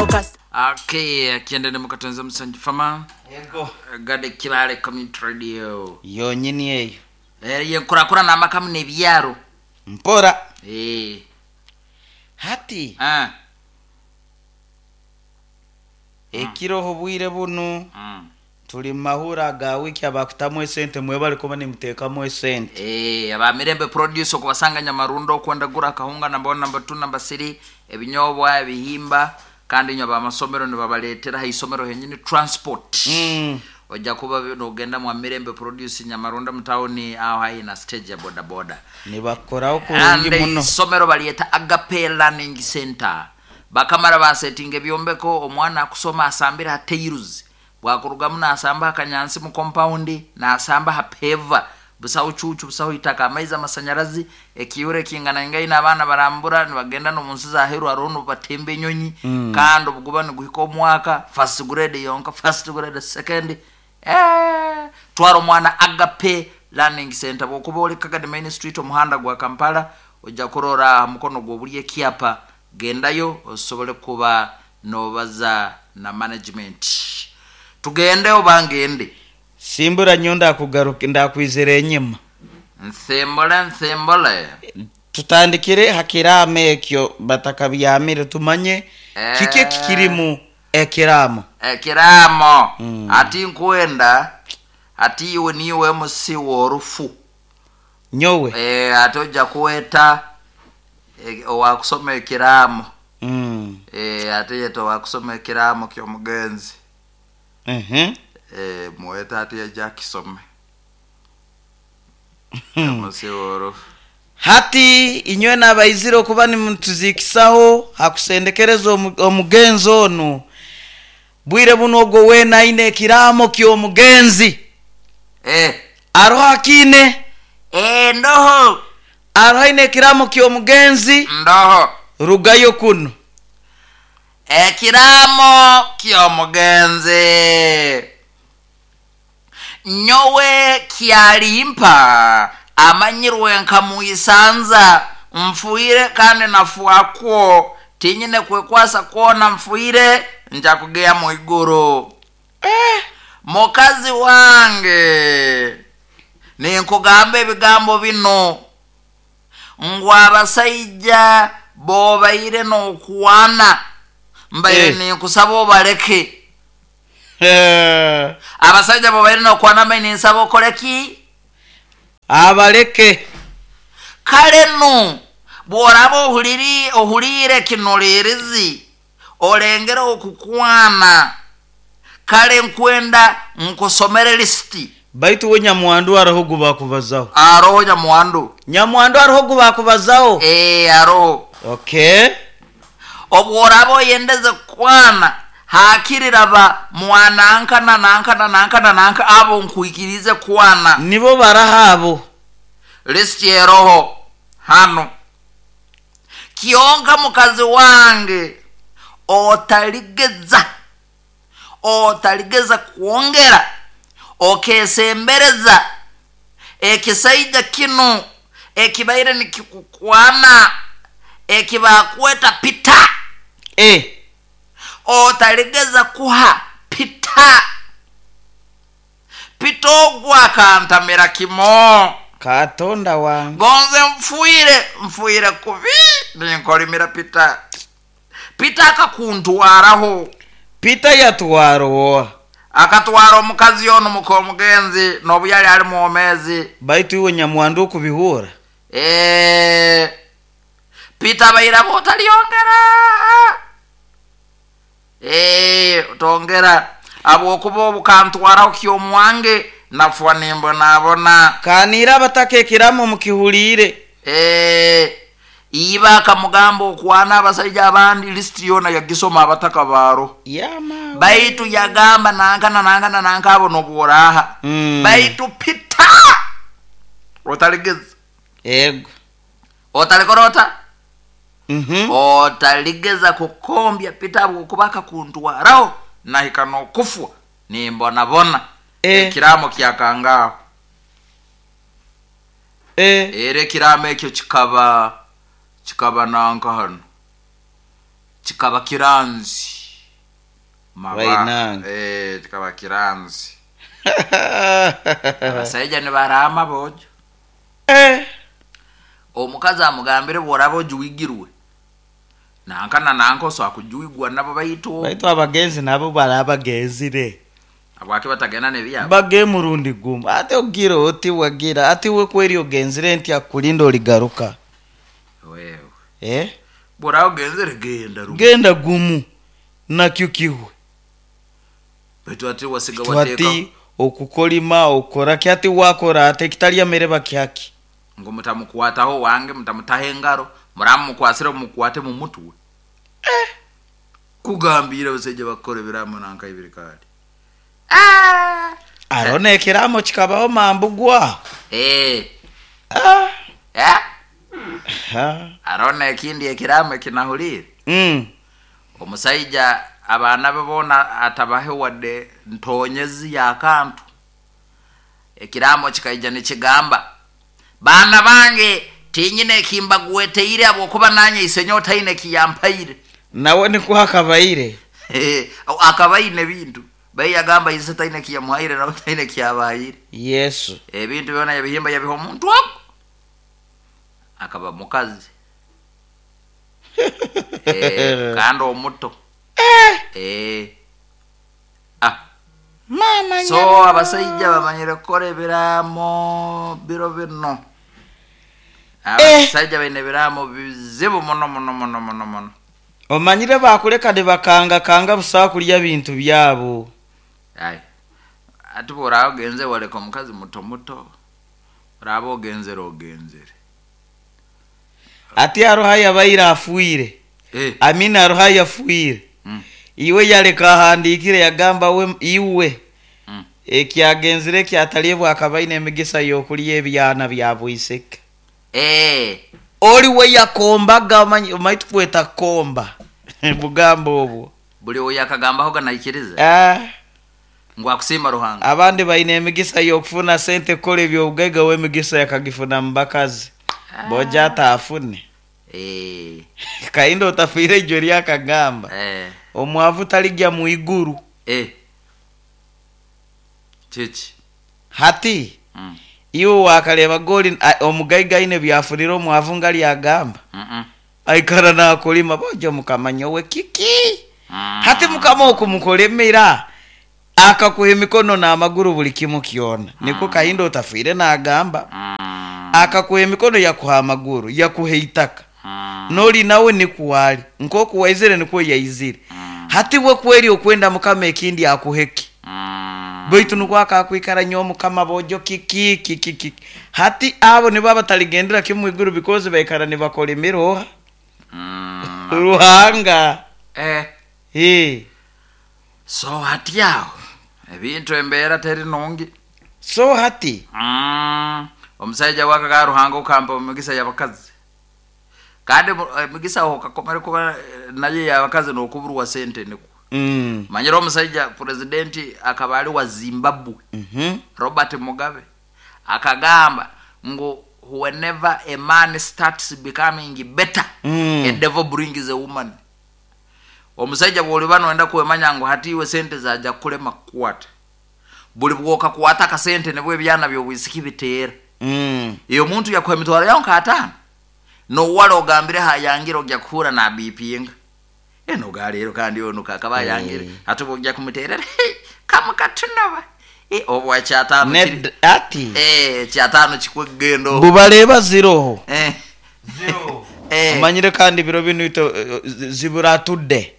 Okay, akienda mukatonza musanju fama Yego. Gade Kibale Community Radio. Yonyini eyo. Yenkurakurana amakamu n'ebyaro. Mpora. Hati. Ekiroho obwire bunu. Tuli mahura ga wiki abakutamu esente mwebale kuba nimuteekamu esente. Aba Mirembe Produce okubasanga Nyamarundo okwendagura akahunga number 1 number 2 number 3 ebinyobwa ebihimba kandi inywe abamasomero nibabaleetera ha isomero henyini transport. Ojja kuba nogenda mwa Mirembe Produce Nyamarundo mu town aho haihi na stage ya boda boda. Nibakoraho kurungi And muno. Isomero balyeta Agape Learning Center. Bakamara basetinga ebyombeko omwana akusoma asambira ha tiles. Bwakurugamu nasamba akanyansi mu compound nasamba ha peva busaho cucu busaho itaka amaizi amasanyarazi ekiyure kingana ngaina abaana barambura nibagenda no munsi za heru arono batemba enyonyi. Kandi obuguba niguhika omwaka first grade yonka first grade second twara omwana Agape Learning Center. Bwokuba oli Kagadi Main Street omuhanda gwa Kampala ojja kurora mukono gw'obuli ekyapa gendayo osobole kuba nobaza na management. Tugende oba ngende? Simbura nyo ndakugaruka ndakwizera enyima. Nsimbule nsimbule. Tutandikire hakiramo ekyo batakabyamire tumanye kiki ekikirimu ekiramo. Ekiramo. Ati nkwenda ati iwe niwe musi w'orufu. Nyowe. Ate ojja kuweta owakusoma ekiramo. Ate yeta owakusoma ekiramo ky'omugenzi. Muweta ati yajja akisome. Musi w'orufu. Hati inywe n'abaizire okuba nimutuziikisaho hakusendekereza omugenzi onu. Bwire buno ogwo weena aine ekiramo ky'omugenzi. Aroho akiine? Ndoho. Aroho aine ekiramo ky'omugenzi? Ndoho. Rugayo kuno. Ekiramo ky'omugenzi. Nyowe kyalimpa amanyirwe nka muisanza mfuire kandi nafuakwo tinyine kwekwasa kwona mfuire nja kugea mwiguru. Mukazi wange ninkugamba ebigambo bino ngu abasaija bobaire n'okwana mbaire ninkusaba obaleke. Abasaija bobaire n'okwana mbaire ninsaba okoleki? Abaleke. Kale nu bw'oraba ohulire kinolerizi olengere okukwana kale nkwenda nkusomere lisiti. Baitu we Nyamwandu aroho gubakubazaho. Aroho Nyamwandu. Nyamwandu aroho gubakubazaho. Aroho. Okay. Obworaba oyendeze kwana hakiriraba mwananka na nanka na nanka na nanka abo nkuikirize kwana. Nibo barahabo. Lisiti eroho hano. Kionka mukazi wange otaligeza kuongera okesembereza ekisaija kino ekibaire nikikukwana ekibakweta pita. Otaligeza kuha pita. Pita ogwa akantamira kimo. Katonda wange. Gonze mfuire kubi ninkolimira pita. Pita akakuntwaraho. Pita yatwaroa. Akatwara omukazi ono muka omugenzi n'obu yali ali mwomezi. Baitu iwe Nyamwandu okubihura. Pita baira botaliongera. Otongera abwokuba obukantwaraho ky'omwange nafwa nimbonabona. Kanira abataka ekiramo mukihulire. Iba akamugamba okwana abasajja abandi list yona yagisoma abataka baro. Yama. Baitu yagamba nanka na nanka na nanka abo nobworaha. Baitu pita otaligeza. Ego. Otalikorota. Otaligeza kukombya pita abo kubaka kuntwaraho nahika nokufwa nimbonabona. Ekiramo kyakangao. Era ekiramo ekyo kikaba nanka hano. Kikaba kiranzi. Maba Bainange. Kikaba kiranzi. Abasaija nibarama bojo. Omukazi amugambire bworaba ojuwigirwe nanka na nanka osobola kujuigwa nabo baitu. Baitu abagenzi nabo barabagenzire. Abwaki batagenda nebyabo? Bage murundi gumu ate ogira oti wagira ati we kweri ogenzire nti akulinda oligaruka. Wewe. Bworaba ogenzere genda rumu. Genda gumu nakyo kihwe. Baitu ati wasiga Baitu wateeka. ati okukolima okora ki ati wakora ate kitalya mere bakihaki. Ngo mutamukwataho wange mutamutaho engaro muramukwasire mukwate mu mutwe. Kugambira abasaija bakora ebiramo nanka ibiri kali. Arona ekiramo kikabaho mambugwa. Arona ekindi ekiramo ekinahulire. Omusaija abaana be boona atabahe wadde ntonyezi y'akantu. Ekiramo kikaija nikigamba baana bange tinyine ekimbagweteire habwokuba nanye isenyo taine kiyampaire. Nawe niko akabaire. Akabaine ebintu bayi yagamba ise taine kiyamuhaire nawe taine kiyabahaire. Yesu. Ebintu byona yabihimba yabiha omuntu ogu akaba mukazi. Kandi omuto. Mama So nyabo. abasaija bamanyire kukora ebiramo biro bino. Abasaija baine ebiramo bizibu muno muno muno muno muno. Omanyire bakuleka ne bakanga kanga busa kulya bintu byabo. Ai. Ati bw'oraba ogenze waleka omukazi muto muto. Oraba ogenzere ogenzere. Ati aroha yabaire afuire. Amina aroha yafuire. Iwe yaleka ahandikire yagamba we iwe. Ekyagenzire kyatalibwa akabaine emigisa y'okulya ebyana bya bwiseke. Oli we yakombaga omanyi tukweta komba. Bugambo obwo. Buli oyo akagambaho ganaikiriza. Ngu akusiima Ruhanga. Abandi baine emigisa y'okufuna sente kukola ebyobugaiga we emigisa yakagifuna mu bakazi. Boja ataafune. Kahinda otafiire ijwe lyakagamba. Omwavu talijja mu iguru. Kiki? Hati. Iwe wakareba goli omugaiga aine byafurira omwavu nga lyagamba. Aikara nakulima bojo mukamanya we kiki. Hati mukama okumukolemera akakuha emikono n'amaguru buli kimu kyona. Niko Kahinda otafiire nagamba. Akakuha emikono yakuha amaguru yakuha eitaka. Noli nawe nikuwali nkoku waizire nikuwe yaizire. Hati we kweri okwenda mukama ekindi akuheki. Baitu nukwo akakwikara nyo mukama bojo kiki kiki kiki. Hati abo nibo abataligendera kimwe iguru because baikara nibakora emiroha. Ruhanga. So hati aho ebintu embeera teri nungi. So hati. Omusajja wakaga Ruhanga okampa omugisa y'abakazi. Kandi emigisa okakomera kuba naye y'abakazi n'okuburwa sente nikwo. Manyira omusajja presidenti akaba ali wa Zimbabwe. Robert Mugabe akagamba ngu whenever a man starts becoming better, a devil brings a woman. Omusajja bw'oliba noyenda kwemanya ngu hati iwe sente zaja kulema kukwata. Buli bw'okakwata akasente nibwo ebyana by'obwisiki biteera. Iyo omuntu yakuha emitwaro yawe nka ataano. Nowala ogambire hayangire ojja kuhura na bipinga. Eno galeero kandi ono kakaba ayangire. Ate bw'ojja kumuteerera, kamu katunoba. Obwa kyataano kiri. Ati. Kyataano kikwegendo. Bubaleba ziroho. Omanyire kandi biro bino ito ziburatudde.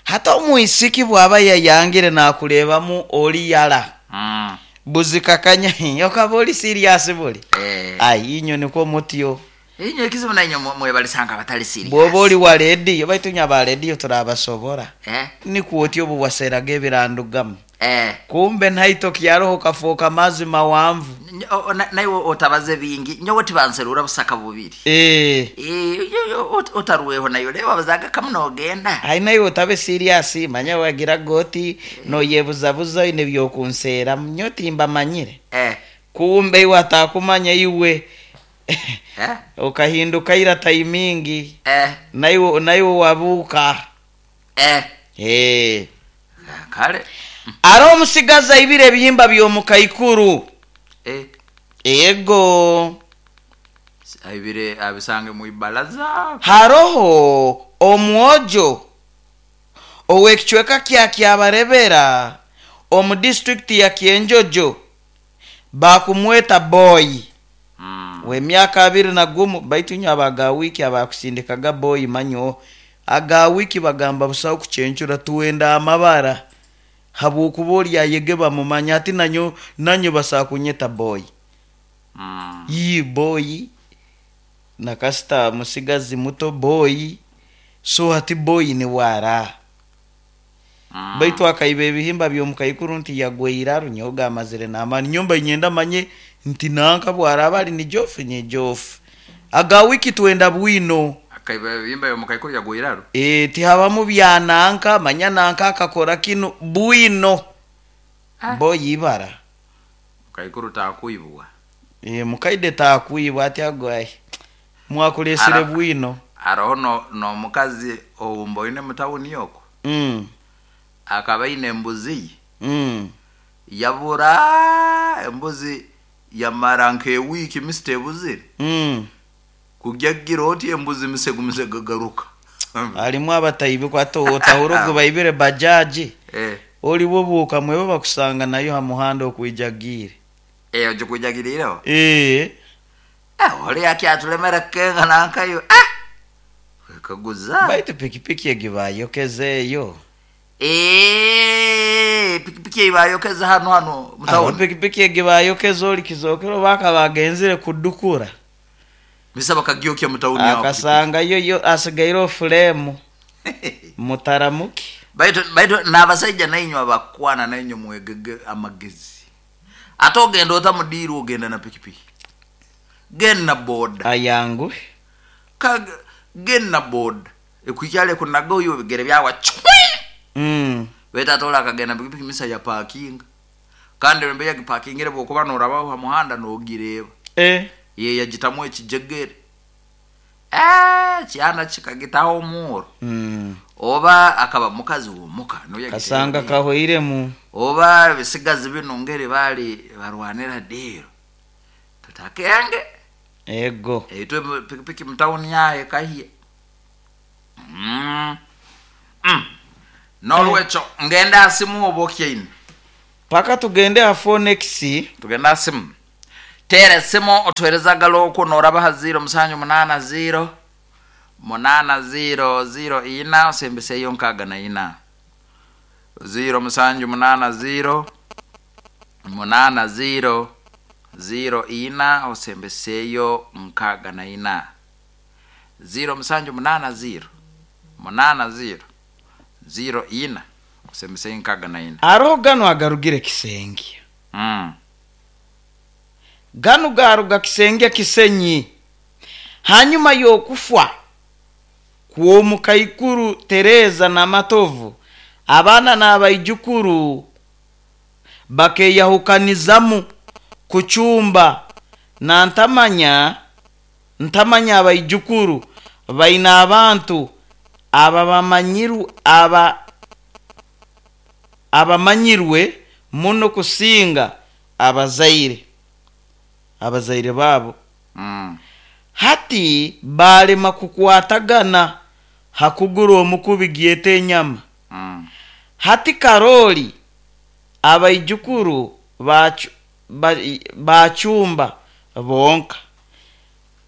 Hata omwisiki bw'aba yayangire n'akureebamu oli yala. Buzikakanya okaba oli serious buli. Ai inyo nikwo mutyo. Inyo ekizibu nainyo mwebalisanga abatali serious. Bw'oba oli wa rediyo, baitu nya ba rediyo turabasobora. Nikwo otyo obu waseraga ebirandugamu. Kumbe nhaito kyaroho kafuuka mazi mawanvu. Naiwe otabaze bingi. Nyowe tibanserura busaka bubiri. Otaruweho nayo reba bazaga kamwe nogenda. Ai naiwe otabe serious manya wagira goti noyebuzabuza ine byokunsera nyo timbamanyire. Kumbe iwe atakumanya iwe. Okahinduka ira taimingi. Naiwe wabuka. Kale. Ari omusigazi aibire ebihimba by'omukaikuru. Eh. Ego. Aibire abisange mu ibalaza. Haroho omwojo ow'ekicweka kya Kyabarebera omu disitulikiti ya Kyenjojo bakumweta Boy w'emyaka 21. Baitu nyo abaga wiki abakusindikaga Boy manyo aga wiki bagamba busaho kucencura tuwenda amabara habwokuba oli ayege bamumanya ati nanyo basakunyeta Boy. Yi Boy nakasita musigazi muto Boy, so ati Boy ni wara. Baitu akaiba ebihimba by'omukaikuru nti yagweira runyoga amazire n'amaani. Nyomba inyenda manye nti nanka bwaraba ali ni jofu nye jofu aga wiki twenda bwino. Akaiba ebihimba by'omukaikuru yagweiraru. Tihabamu bya nanka manya nanka akakora kino bwino. Boy ibara mukaikuru takuibwa. Mukaide takuibwa ati agwaye mwakulesire bwino. Aroho no mukazi owumboine mutawuni yoko. Akaba ine embuzi. Yabura embuzi yamara nk'ewiki misite ebuzire. Kujyagira oti embuzi misegu misegu garuka. Alimu abatayibi kwato otahuro baibire bajaji. Oli wobuka mwebo bakusanga nayo ha muhanda okwijagire. Oje kwijagiriro? Oli akyatulemera kenga nankayo. Kaguza. Baitu pikipiki egibayokezeeyo. Pikipiki ebayokeza hano mutawuni. Pikipiki egibayokeza oli kizokero baka bagenzire kudukura. Misaba kagyokya mutawuni yako. Akasanga yo asigaire frame. Mutaramuki. Baitu n'abasajja nainywe abakwana nainywe mwegege amagezi. Ate ogenda otamudiira ogenda na pikipiki. Genda boda. Ayangu. Genda boda. Ekukyale kunaga oyo ebigere byawa chwi. Beta tola akagenda pikipiki misa ya parking. Kandi rembe ya parkingire bwokuba norabaho ha muhanda nogireba. Ye yagitamu ekijegere. Kyana kikagitaho omuro. Oba akaba mukazi womuka no yagitera. Kasanga kahoiremu. Oba bisigazi bino ngere bali barwanira dero. Tutakenge. Ego. Itwe pikipiki mtawuni yaye kahiye. Nolwecho ngenda asimu obokyeine. Paka tugende ha Phoenix. Tugenda asimu. Tere simu otuhereza galoko noraba 0 7 8 0 8 0 0 ina osembese iyo nkaga na ina. 0 7 8 0 8 0 0 ina osembeseyo nkaga na ina. 0 7 8 0 8 0 0 ina osembeseyo nkaga na ina. Aroho gano agarugire Kisenge. Gano garuga Kisenge Kisenyi. Hanyuma yokufwa kuomukaikuru Tereza na Matovu abana n'abaijukuru bakeyahukanizamu kuchumba na ntamanya abaijukuru baina abantu abamanyirwe muno kusinga abazaire babo. Hati balema kukwatagana hakugura omukubi gyete enyama. Hati Karoli abaijukuru bachumba bonka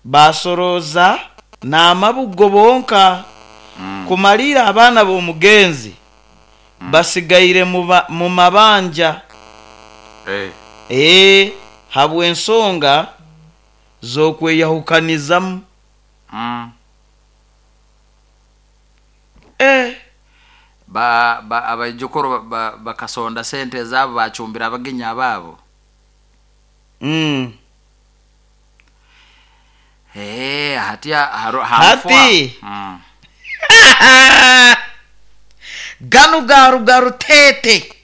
basoroza n'amabugo bonka. Kumalira abaana b'omugenzi basigaire mu mabanja. Habw'ensonga z'okweyahukanizamu. Abaijukuru bakasonda sente zabo bachumbira abagenya babo. Hati hati. Ganu garu garu tete.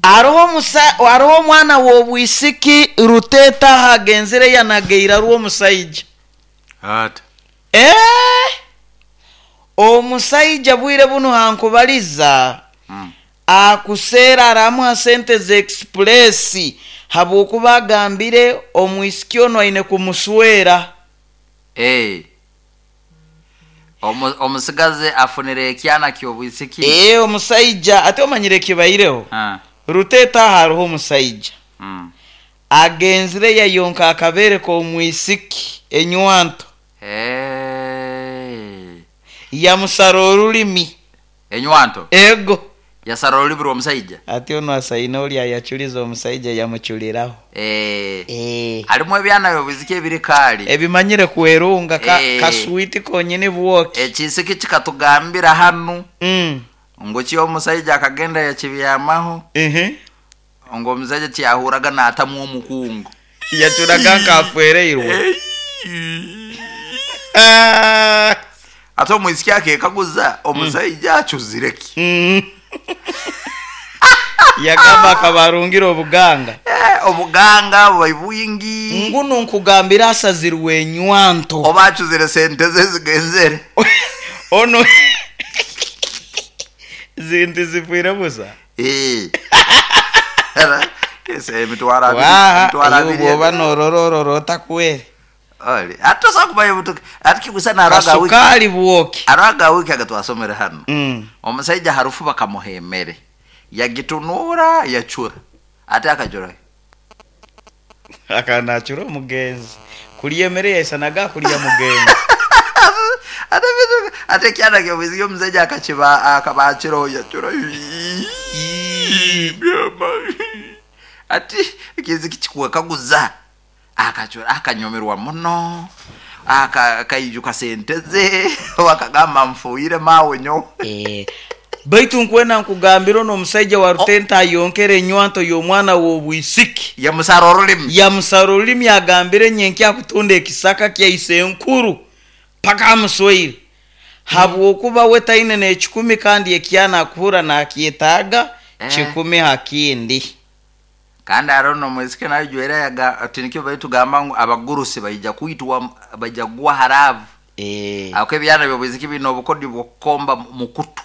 Aroho mwana w'obwisiki ruteta hagenzire yanageira ruwo musaija. Ata. Omusaija bwire buno hankubaliza akuseera aramuha sente za express habwokuba agambire omwisiki onu aine kumuswera. Eh. Omusigazi afunire ekyana ky'obwisiki. Ee, omusaija ate omanyire ekibaireho. Ruteeta hariho omusaija agenzire yayonka akabeere k'omwisiki enywanto. Yamusara orulimi. Enywanto? Ego. Yasara orulimi rw'omusaija? Ati onu asaine oli ayaculiza omusaija yamuculiraho. Harimu ebyana by'obwisiki ebiri kaali. Ebimanyire kwerunga kaswiti konyini bwoki. Ekisiki kikatugambira hanu ngu ki omusaija akagenda yakibyamaho ngu omusaija tiyahuraga naatamu omukungu. Yacuraga nk'afwereirwe. Ate omwisiki akekaguza omusaija acuzire ki? Yagamba akaba arungire obuganga. Obuganga bubai bwingi. Ngunu nkugambira asazirwe enywanto. Oba acuzire sente ze zigenzere. Ono zinti zifwire busa. Emitwaro abiri. Emitwaro abiri. Bwoba norororora otakwere. Ate osobola kumanya obutuka ati kigusa naraga wiki. Kasukali bwoki. Araga wiki agatwasomere hano. Omusaija harufu bakamuha emere. Yagitunura yacura. Ate akacura. Akanacura omugenzi. Kulya emere yaisanaga kulya mugenzi. Ate kyana kyobwiziki omusaija akakiba akabakiro yacura. Ati ekiziki kikuwekaguza. Akacura akanyomerwa muno. Akaijuka sente ze wakagamba mfuire mawe nyo. Baitu nkwena nkugambira ono omusaija wa Rutenta ayonkere enywanto y'omwana w'obwisiki. Yamusara orulimi. Yamusara orulimi agambire nyenkya akutunda ekisaka kyaise enkuru paka amuswaire. Habwokuba we taine n'ekikumi kandi ekyana akuhura nakyetaaga 10 ha kindi. Kandi hariho n'omwisiki nayo yaga ati nikyo baitugamba ngu abagurusi baija kwitwa baija kugwa haravu. Ako ebyana by'obwisiki bino obukodi bw'okukomba mukutu.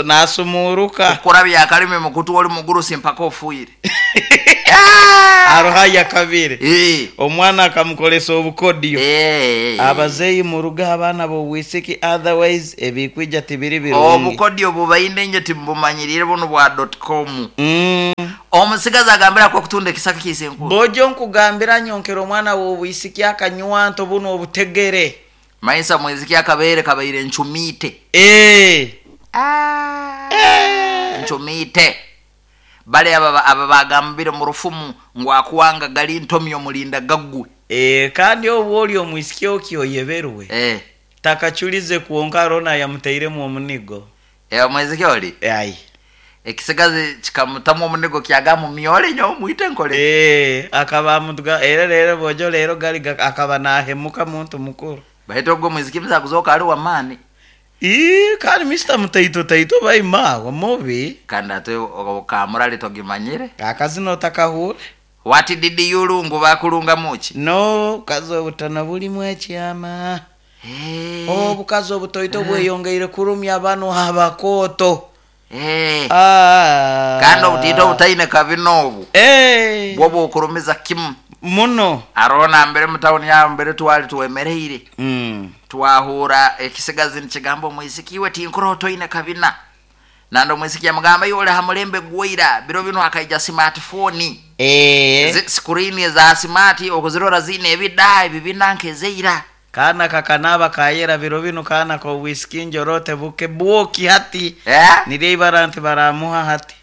Nasumuruka. Kukora byakalimi mukutu oli mugurusi mpaka ofuire. Aroha yakabire. Omwana akamukolesa obukodyo. Abazeyi muruga abaana b'obwisiki otherwise ebikwija tibiri birungi. Obukodyo bubaine nje timbumanyirire buno bwa .com. Omusigazi agambira ko kutunda ekisaka kise enkuru. Bojo nkugambira nyonkera omwana w'obwisiki akanywanto buno obutegere. Maisa mwiziki akabere kabaire nchumite. Nchumite. Bale aba bagambire mu rufumu ngo akuwanga gali ntomyo mulinda gaggwe. Kandi obwo oli omwisiki okyoyeberwe. Takachulize kuonka rona yamuteiremu omunigo. Omwiziki oli? Ai. Ekisigazi kikamutamu omunigo kyagamu myole nyo mwite nkole. Akaba mutuga era rero bojo rero gali akaba nahemuka muntu mukuru. Bahita ogwo mwiziki mza kuzoka ali wamani. Kandi Mr. Mutaito taito baima wa mubi. Kandi ate okamurali togimanyire. Akazino takahura. Wati didi yulungu bakulunga muki? No, kazo obutana bulimu ekyama. Obukazi obutoito bweyongeire kurumya bano abakoto. Kandi obutito obutaine kabina obu. Bwo bukurumiza kimu. Muno. Arona mbere mu town ya mbere twali twemereire. Twahura ekisigazi nikigambo omwisiki we tinkuro toine kabina. Nando omwisiki yamugamba yole hamulembe gweira biro bino akaija smartphone. Screen za smart okuzirora zine ebida ebibina nkezeira. Kana kakanaba kayera biro bino kana ko whisky njorote buke bwoki hati. Nire ibara nti baramuha hati.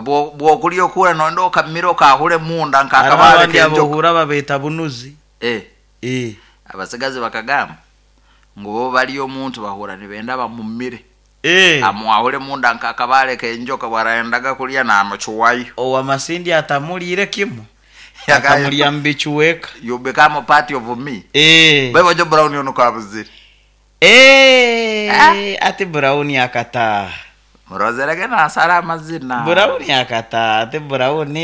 Bwo kulyo kura nondo kamiro kahule munda nkakabale kenjo. Abohura babeta bunuzi. Abasigazi bakagamba ngo bo bali omuntu bahura nibenda bamumire. Amwahule munda nkakabale kenjoka baraendaga kulya na amachuwayo. Owa masindi atamulire kimu. Akamulya mbichuweka. You become a part of me. Bebo jo Brown yono kabuzire. Ati Brown akata. Murozerege na asara amazina. Brown akata, ati Brown.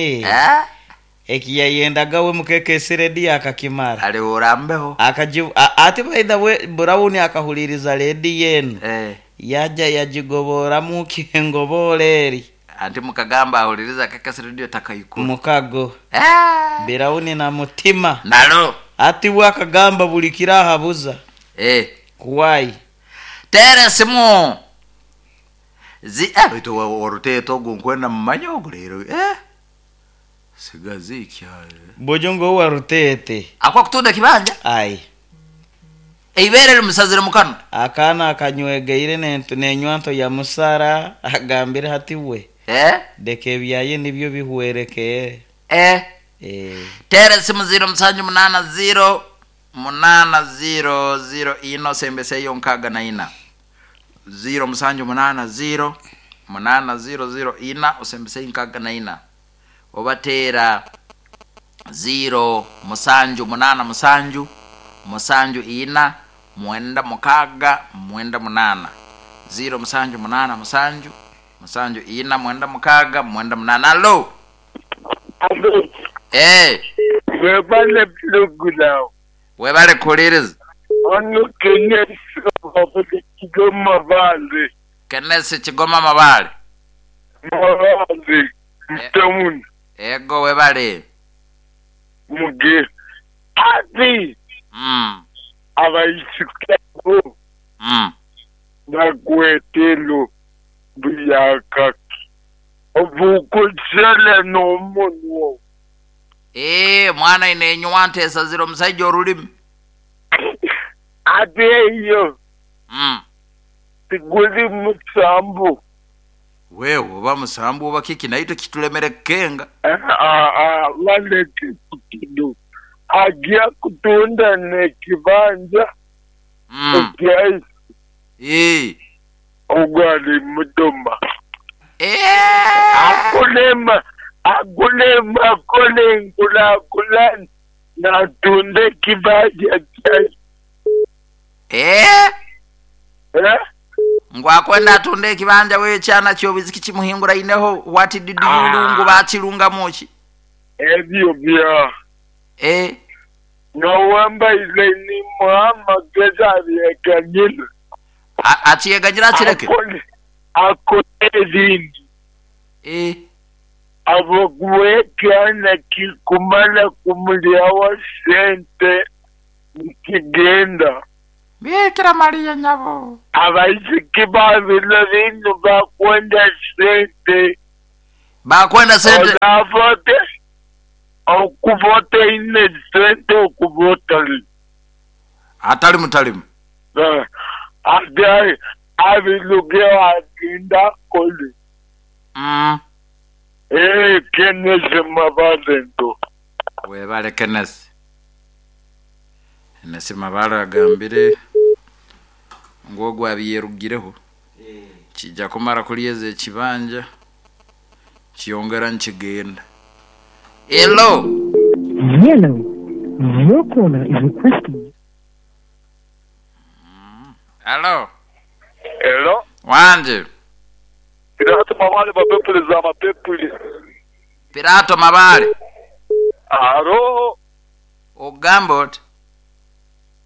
Ekiyayendaga we mukekesi rediyo akakimara. Alihura mbeho. Ati by the way, Brown akahuliriza rediyo enu. Eh. Yaja yagigoboramu kengobora eri. Anti mukagamba ahuliriza Kekesi Radio takaikuru. Mukago. Eh. Brown na mutima. Nalo. Ati we akagamba buli kirahabuza. Eh. Kuwai. Tere simu. Zi baitu waruteto ogu nkwenda mumanya ogu rero. Eh. Sigazi ikyaye. Bojongo wa rutete. Akwa kutunda kibanja? Ai. Eibere limusazire mukano. Akana akanywegeire nenywanto ya musara agambire hati we. Eh? Deke ebyaye nibyo bihwerekeye. Eh. Eh. Tere simu 0780 800 ino sembeseyo 64. 0780 800 ina osembesei 64. Obatera 0 musanju munana musanju musanju ina mwenda mukaga mwenda munana. 0 musanju munana musanju musanju ina mwenda mukaga mwenda munana. Alo. Eh. Webale plugulaw. Webale kuliriza. Ono Kenesi Kigoma Mabale. Kenesi Kigoma Mabale. Mabale. Mtamun. Ego webale. Muge. Ati. Abaisikago. Nakwetelo biyakaki. Obukutsele n'omunwa. Eh, mwana inenywa ntesa ziro musajja olulimi. Ate eyo. Tiguli musambu. Wewe oba musambu oba kiki naito kitulemere kenga. Waleke kutudu. Ajja kutunda nekibanja. Okyaisi. Eh. Ogwali mudoma. Eh. Akulema. Akulema kole nkula kula na tunde kibanja kyaisi. Eh? Eh? Ngwakwenda atunde ekibanja we kyana kyobiziki kimuhingura ineho what did you lungu bakirunga muki? Ebyo bya. Eh. Nowamba ile ni Muhammad geza byekanyira. Achiyeganyira akireke? Akole ebindi. Eh. Abogwekana kikumala kumulyawa sente nikigenda. Bikira Maria nyabo. Abaisiki babilo binu bakwenda sente. Bakwenda sente. Olavote. Okuvote ine sente okuvota. Atali mutalimu. Adai abiluge aginda koli. Eh, Kenesi Mabalento. Webale Kenesi. Kenesi Mabale agambire ngwogwa abiyerugireho. Kijja kumara kulyeza ekibanja kiyongera nkigenda. Hello. Hello. Your caller is requesting. Hello. Hello. Wanje. Pirato Mabale mapepuli za mapepuli. Pirato Mabale. Aro. Ogamba oti.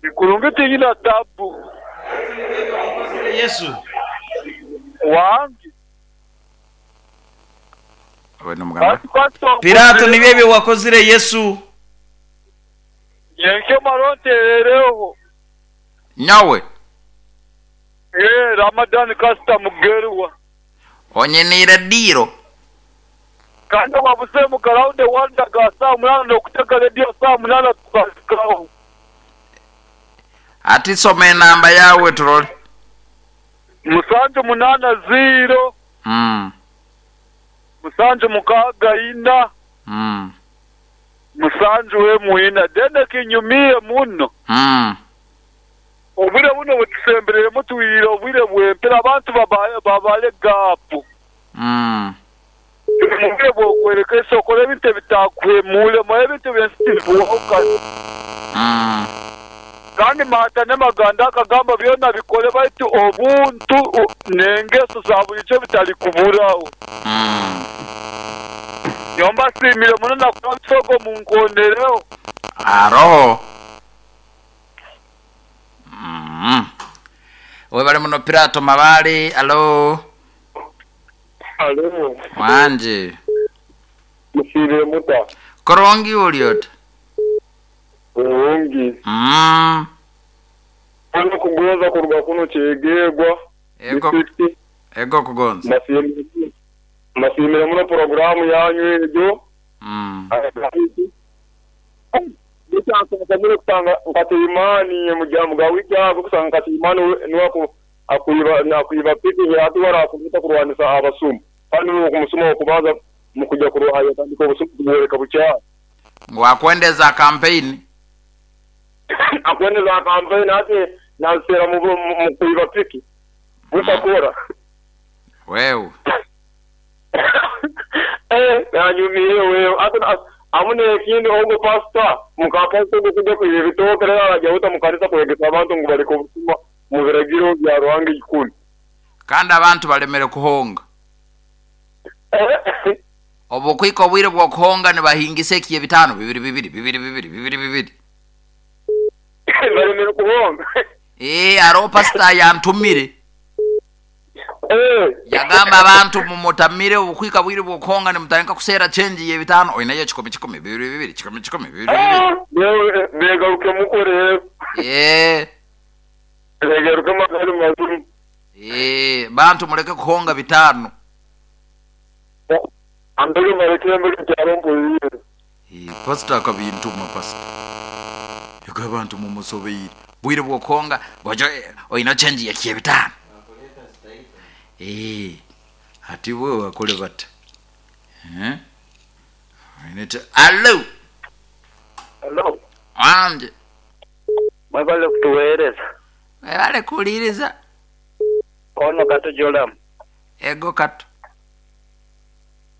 Ikulungi tingina tabu. Yesu. Wangi. Pirato nibyo ebyo wakozire Yesu. Yenke maronte ereho. Nyawe. Eh, Ramadan kasta mugerwa. Onyenire diro. Kanda wabuse mukaraude wanda ga saa 8 okuteka radio saa 8 tukasikaho. Ati some namba yawe turole. 780. 764. 7 muina dende kinyumie muno. Obwire buno butusemberere mutuwirire obwire bwempera abantu babale gapu. Mubwire bwokwereka isoko ebintu bitakwemule mu ebintu byensitibuhoka. Kandi mata n'amaganda akagamba byona bikole baitu obuntu n'engeso za bulijjo bitali kuburaho. Nyombasiimire muno nakuba bisogo munkondereho. Aroho. Webale muno Pirato Mabale. Alo. Alo. Wanje. Musiibire muta. Korongi uliota. Kurungi. Ano kugonza kuruga kuno kyegegwa. Ego. Ego kugonza. Masiimire muno programu yanyu egyo. Bitankamire kusanga nkatiimani mujamu wiki ago kusanga nkatiimani niwako akuiba nakuiba piki yatwara akumuta kurwanisa abasumu. Kandi okumusuma okubanza mukuja kuruhaya tandika obusumu kuwereka bucha. Ngwakwendeza campaign. Akwendeza campaign ate nansera mu kuiba piki. Mutakora. Wewe. Nanyumiye wewe. Ate amune ekindi ogo pastor mukapastor kuja kubitokera arajya mukanisa kwegesa abantu ngo bariko obusuma mu biragiro bya Ruhanga ikuni. Kandi abantu balemere kuhonga. Obukwiko obwire bwo kuhonga ne bahingisa ekiye bitano bibiri bibiri bibiri bibiri bibiri bibiri. Balemere kuhonga. Aro pastor yantumire. Yagamba abantu mumutamire obukwika bwire bwo kuhonga ne mutandika kusera change ye bitano oinayo kikumi kikumi bibiri bibiri kikumi kikumi bibiri bibiri. Begaruke mukore. Begaruke magari mazuri. Bantu muleke kuhonga bitano. Andege mareke mbere cyarombo yire. Pastor akabintuma pastor. Yagaba abantu mumusobeire. Bwire bwo kuhonga bojo oina change ya kiye bitano. Ati wewe wakole bata. Inete allo. Allo. Anje. Mwebale kutuwereza. Mwebale kuliriza. Ono kato jolam. Ego kato.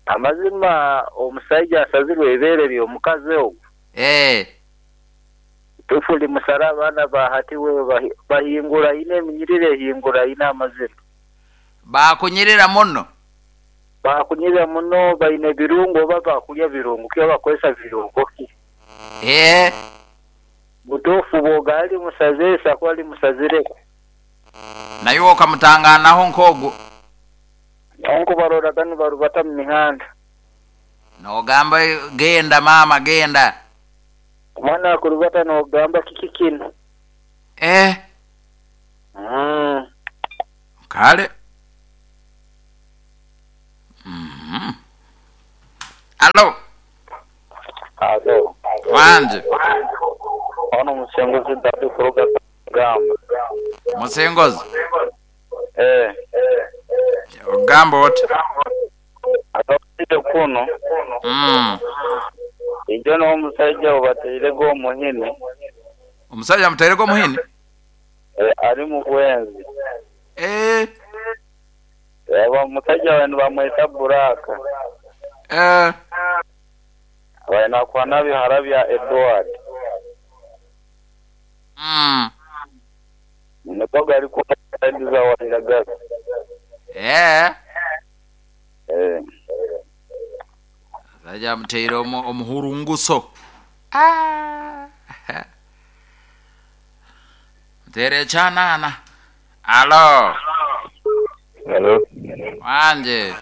Amazima omusajja asazirwe ebere by'omukazi ogwo. Tufuli musara abana bahati wewe bahingura ine eminyirire hingura ine amazima. Bakunyirira muno. Bakunyirira muno baine birungo baba kulya birungo kyo bakozesa birungo ki. Butofu bogali musazesa kwali musazire. Nayo okamutanganaho nkogo. Onko barora kanu barubata mu mihanda. Nogamba genda mama genda. Mwana akurubata nogamba kiki kino. Kale. Allo. Allo. Wanje. Ono musengozi dadu kuruga gamba. Musengozi. Ogamba oti. Atawite kuno. Ijo no omusajja obateire go muhini. Omusajja muteire go muhini? Ari mu bwenzi. Aba musajja wenu bamweta Buraka. Abaina kwa nabi harabya Edward. Nikoga alikuwa za walagaza. Saja mteire omuhurunguso. Mteire chanana. Alo. Alo. Wanje.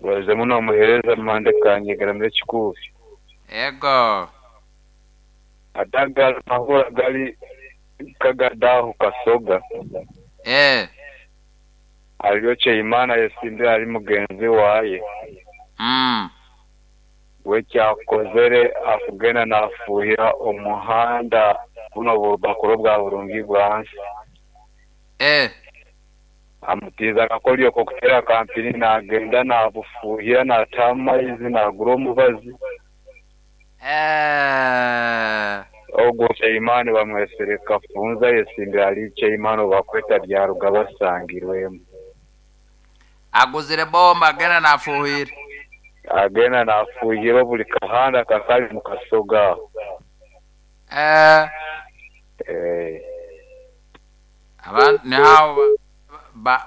Waze muno muhereza mande kanyegera muri kikufi. Ego. Adaga mahura gali kagadaho kasoga. Aliyoche imana yesimbira ari mugenzi waye. Wekyakozere akugenda nafuhira omuhanda buno bakuru bwa burungi bwansi. Amutiza akakolyo kokutera kampini nagenda nabufuhira natama izi nagura omubazi. Ogwo Cheimani bamwesereka funza yesimbira ali Cheimani bakweta byaruga basangirwemu. Aguzire bomba agenda nafuhira. Agenda nafuhira buli kahanda kakali mu kasoga. Abantu ni hao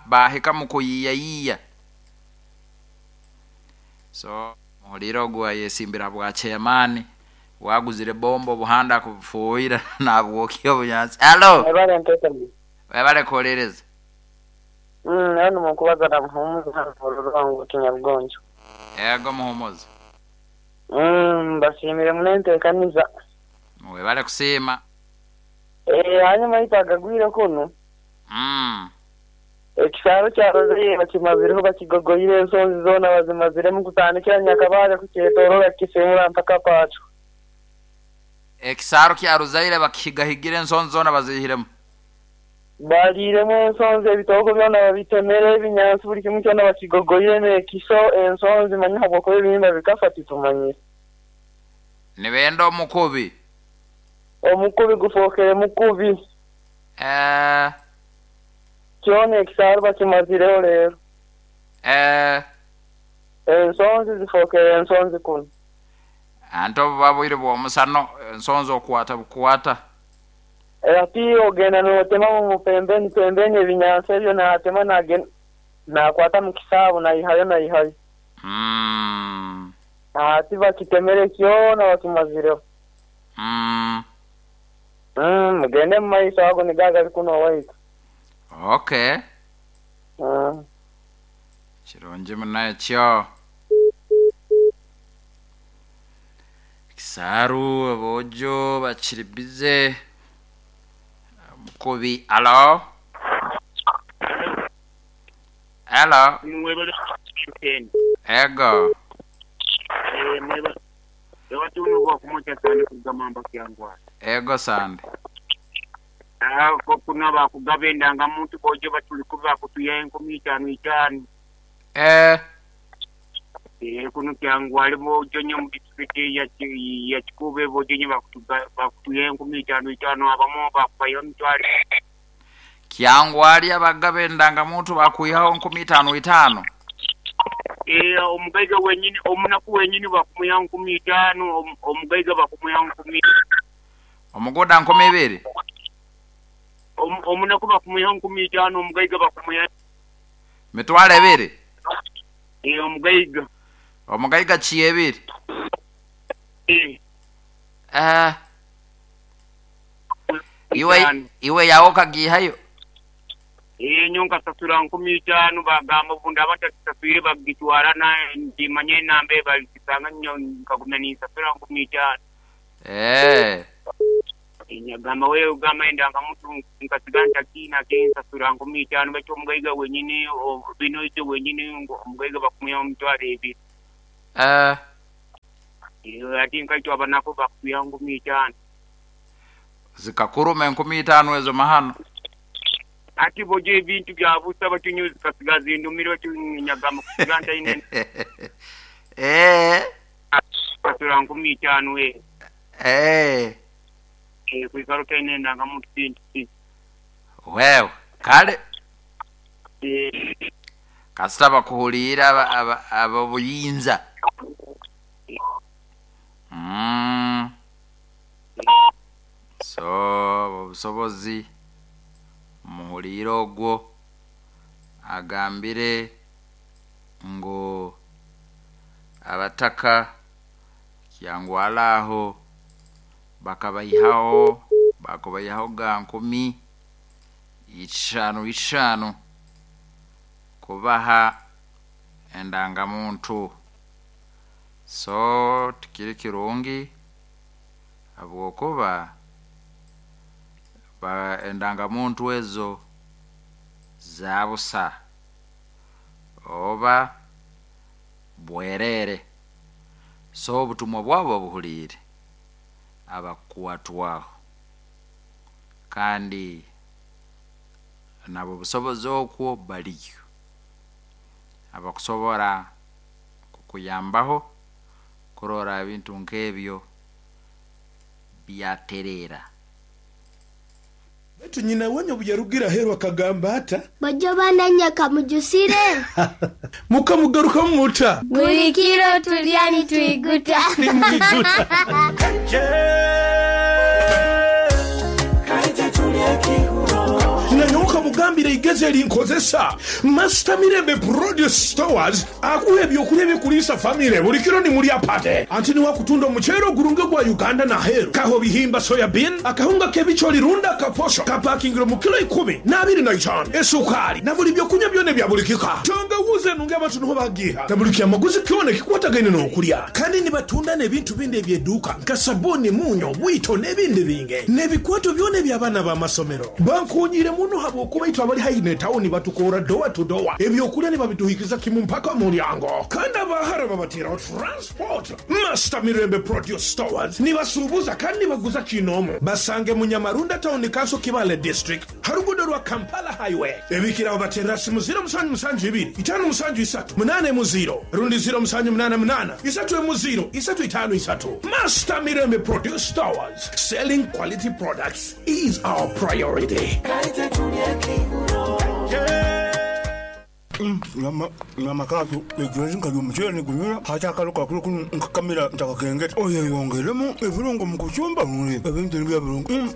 bahika mu kuyiyayiya. So Muhuliire ogu ayesimbira bwa chairman, waguzire bombo obuhanda akubufuuhira nabwokya obunyansi. Alo, Mwebale ntekani. webale kuhuliiriza. Hano mukubaza na Muhumuza hano mu Rurwango Kinyabugonjo. Ego Muhumuza. Mbashimire munentekaniza. Webale kusiima. Hanyuma itagagwire kuno. Ekisaro kya Rozaire bakimazireho bakigogoire ensonzi zoona bazimaziremu kutandikira Nyakabale kukyetoroora kisimura mpaka Pacho. Ekisaro kya Rozaire bakihigahigire ensonzi zoona bazihiremu. Baliiremu ensonzi ebitoogo byona babitemere ebinyansi buli kimu kyona bakigogoire n'ekiso ensonzi manya habwokuba ebihimba bikafa titumanyire. Nibenda omukubi. Omukubi gufookere mukubi. Kyona ekisaro bakimazireho leero. Ensonzi zifookere ensonzi kunu. Ante obuba bwire bw'omusano ensonzi okwata bukwata. Ati ogenda n'otema mu pembeni pembeni ebinyansi ebyo naatema nagenda nakwata mu kisaabu naihayo naihayo. Ati bakitemere kyona bakimazireho. Mugende mu maiso ago nigo agali kuno owaitu. Okay. Kirungi muno ekyo. Kisaaru aboojo bakiri bize. Mukubi, alo? Alo? Ego. Ego sande. Kuna bakugaba endangamuntu bojo batuli bakutuya enkumi itaano itaano. Kuno Kyangwali bojo nyo mu disitulikiti ya Kikuube bojo nyo bakutuya enkumi itaano itaano abamu bakubayo emitwalo. Kyangwali abagaba endangamuntu bakwihaho nkumi itaano itaano. Omugaiga wenyini omunaku wenyini bakumuya nkumi itaano omugaiga bakumuya nkumi. Omugoda nkumi ibiri. Omunaku bakumuya nkumi itaano omugaiga bakumuya mitwalo ebiri. Omugaiga. Omugaiga ki ebiri? Iwe yawo kagihayo. Nyo nkasasura nkumi itaano bagamba obundi abatakisaswire bagitwara na ndimanye enamba balikisanga nyo nkagumya ninsasura nkumi itaano. Nyagamba wewe ugamba endangamuntu nkasiga ntakina kensasura nkumi itaano baitu omugaiga wenyini bino ite wenyini omugaiga bakumuya omutwalo ebiri. Ati nkaitwe abanako bakuya nkumi itaano. Zikakuruma enkumi itaano ezo mahano. Ati bojo ebintu bya busa batunyu zikasiga zindumire batu nyagamba kusiga ntaine. Kasura nkumi itaano kuikaro taine endangamuntu kintu. Wewe kale kasita bakuhuliira ab'obuyinza. So obusobozi muhuliire ogwo agambire ngu abataka Kyangwali aho bakabayihaho bakubayihaho ga nkumi itaano itaano kubaha endangamuntu. So tikiri kirungi habwokuba endangamuntu ezo zabusa oba bwerere. So obutumwa bwabo buhuliire abakukwatwaho kandi nabo busobozi okwo baliyo abakusobora kukuyambaho kurora ebintu nk'ebyo byaterera. Baitu nyina wenyu obu yarugira aheeru akagamba ata? Bojo bananya kamujusire. Mukamugarukamu muta? Buli kiro tulya nitwiguta. Nimwiguta. Nanyowe Nkugambire eigezi erinkozesa. Master Mirembe Produce Stores akuha eby'okulya ebikuliisa famire buli kiro ni mulya pate. Anti niwe akutunda omuceere ogurungi ogwa Uganda n'aheeru, kaho bihimba soya bean, akahunga k'ebicoori rundi akaposho kapakingirwe mu kilo ikumi n'abiri na itaanu, esukaali na buli by'okunywa byona ebya buli kika. Tangawuuzi enungi abantu niho bagiiha na buli kyamaguzi kyona ekikwatagaine n'okulya. Kandi nibatunda n'ebintu bindi eby'eduuka nka sabuuni, muunyo, bwito n'ebindi bingi. N'ebikwato byona eby'abaana b'amasomero. Bankoonyeire muno habw'okuba itwe abali haihi n'etawuni batukoora dowa tu dowa, eby'okulya nibabituhikiza kimu mpaka mu mulyango. Kandi abaahara babateeraho transport. Master Mirembe Produce Stores nibasuubuza kandi nibaguza kiinoomu. Basange mu Nyamarunda Town Council Kibaale District ha luguudo rwa Kampala Highway. Ebikiraho bateerera simu ziro musanju musanju ibiri, itaano musanju isatu, munaana emu ziro rundi ziro musanju munaana munaana, isatu emu ziro, isatu itaano isatu. Master Mirembe Produce Stores, selling quality products is our priority. Nyama kaatu egyo nkalya omuceere ni gunyura, hati akalo kakulu kunu nkakamira ntakakengeta. Oyeyongeiremu ebirungo mu kucumba ebintu nibiba birungi.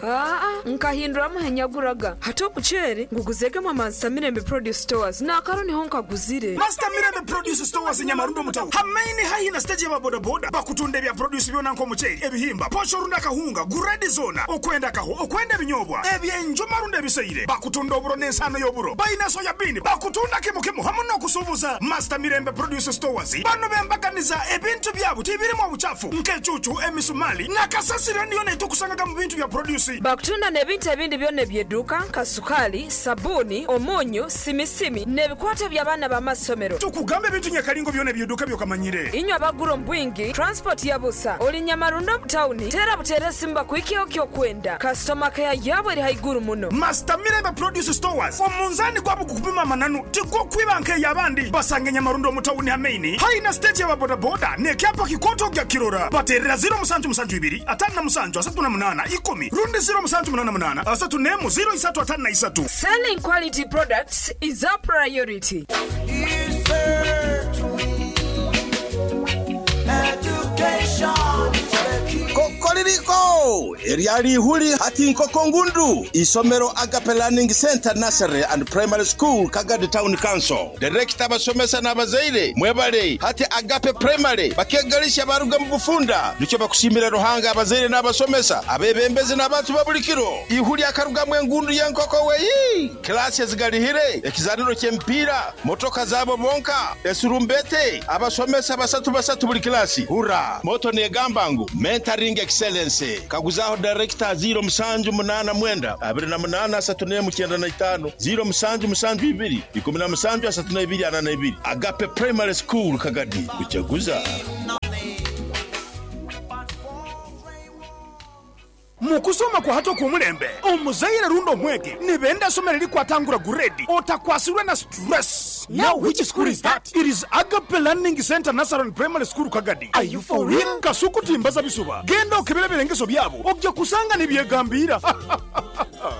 Aa, nkahinduramu henyaguraga. Hati omuceere nguguzegemu Master Mirembe Produce Stores n'akaro niho nkaguzire. Master Mirembe Produce Stores e Nyamarundo mu tawuni ha maini haihi na siteegi y'aba bodaboda bakutunda ebya produce byona nk'omuceeri, ebihimba, posho rundi akahunga, guredi zoona, okwenda akaho, okwenda ebinyobwa, eby'enjuma rundi ebiseire. Bakutunda oburo n'ensaano y'oburo. Baine soya biini. Bakutunda kimu kimu hamu n'okusuubuza. Master Mirembe Produce Stores bano b'embaganiza ebintu byabo tibirimu obukyafu nk'ecuucu, emisumali na kasasiro endi yoona eitukusangaga mu bintu bya produce. Bakutunda n'ebintu ebindi byona eby'eduuka nka sukaali, sabuuni, omunyu, simisimi n'ebikwato by'abaana b'amasomero. Tukugamba ebintu nyakalingo byona eby'eduuka by'okamanyire. Inywe abagura omu bwingi, transport ya busa. Ori Nyamarundo omu tawuni, teera buteera esimu bakuhikyeho ky'okwenda. Kasitoma keya yaabo eri haiguru muno. Master Mirembe Produce Stores, omunzaani gwabo gukupima amananu tigukwiba nk'ey'abandi. Basange Nyamarundo omu tawuni ha maini haihi na siteegi y'aba bodaboda n'ekyapa kikooto ogya kukirora. Bateerera ziro musanju musanju ibiri, ataano na musanju, asatu na munaana, ikumi rundi ziro musanju munaana munaana, asatu n'emu, ziro isatu ataano na isatu. Selling quality products is our priority. Kokoliriko! Eryali ihuli hati nkoko ngundu. Isomero Agape Learning Center Nursery and Primary School Kagadi Town Council. Direkita abasomesa n'abazaire mwebale hati Agape Primary bakegalisha baruga mu bufunda. Nikyo bakusiimira Ruhanga abazaire n'abasomesa abebembezi n'abantu ba buli kiro. Ihuli akarugamu engundu y'enkoko weyi. Kilasi ezigalihire, ekizaniro ky'emipiira, motoka zaabo bonka, esurumbete, abasomesa basatu basatu buli kilasi. Hurra! Moto negamba ngu mentoring excellence. Kaguzaho director ziro musanju munana mwenda abiri na munana asatu n'emu kyenda na itaano ziro musanju musanju ibiri ikumi na musanju asatu na ibiri ana na ibiri. Agape Primary School Kagadi kuchaguza. Mu kusoma kwa hati okw'omulembe, omuzaire rundi omwegi nibenda isomero erikwatangura guredi otakwasirwe na stress. Now which school is that? It is Agape Learning Center Nursery and Primary School Kagadi. Are you for real? Kasuku timbaza bisuba. Genda okebere ebirengeso byabo oja kusanga nibyegambira.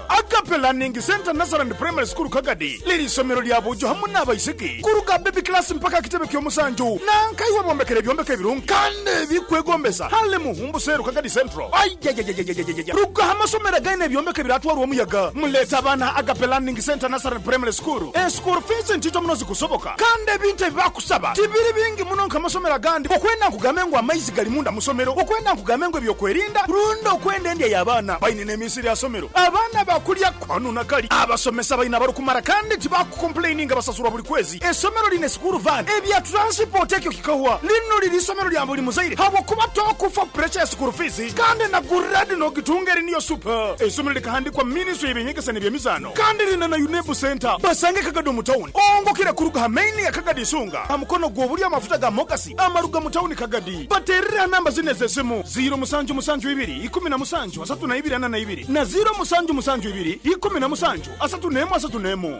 Agape Learning Center Nursery and Primary School Kagadi liri isomero lya bujo hamu n'abaisiki kuruga baby class mpaka kitebe ky'omusanju. Nankaiwe bombekere ebyombeko ebirungi kandi ebikwegombesa hale Muhumbu Seru Kagadi Central. Aiyaiyaiyaiyaiyaiya! Ruga aha masomero againe ebyombeko ebiratwarwa omuyaga. Muleete abaana Agape Learning Center Nursery and Primary School. Eschool fees ntito muno zikusoboka kandi ebintu ebibakusaba tibiri bingi muno nk'amasomero agandi. Okwenda nkugambe ngu amaizi gali munda mu somero, okwenda nkugambe ngu ebyokwerinda rundi okwenda endya y'abaana. Baine n'emisiri aha somero. Abaana bakulya kanu na kali. Abasomesa baine abarikumara kandi tibakukompuleininga basasurwa buli kwezi. Esomero liine sikuuru vaani. Ebya turansipooti ekyo kikahwa. Lino liri isomero lya buli muzaire habwokuba tokufa puresha ya sikuuru fiizi kandi na guredi nogitunga eri niyo supa. Eisomero likahandikwa minisitule y'eby'enyegesa n'eby'emizaano kandi liine na UNEB Centre. Basange Kagadi omu tawuni ongokire kuruga ha maini ya Kagadi Isunga aha mukono gw'obulyo amafuta ga Mogasi amaruga mu tawuni Kagadi. Bateerere aha namba zinu ez'esimu, ziiro musanju musanju ibiri, ikumi na musanju, asatu na ibiri ana na ibiri na ziiro musanju musanju ibiri, ikumi na musanju, asatu n'emu asatu n'emu.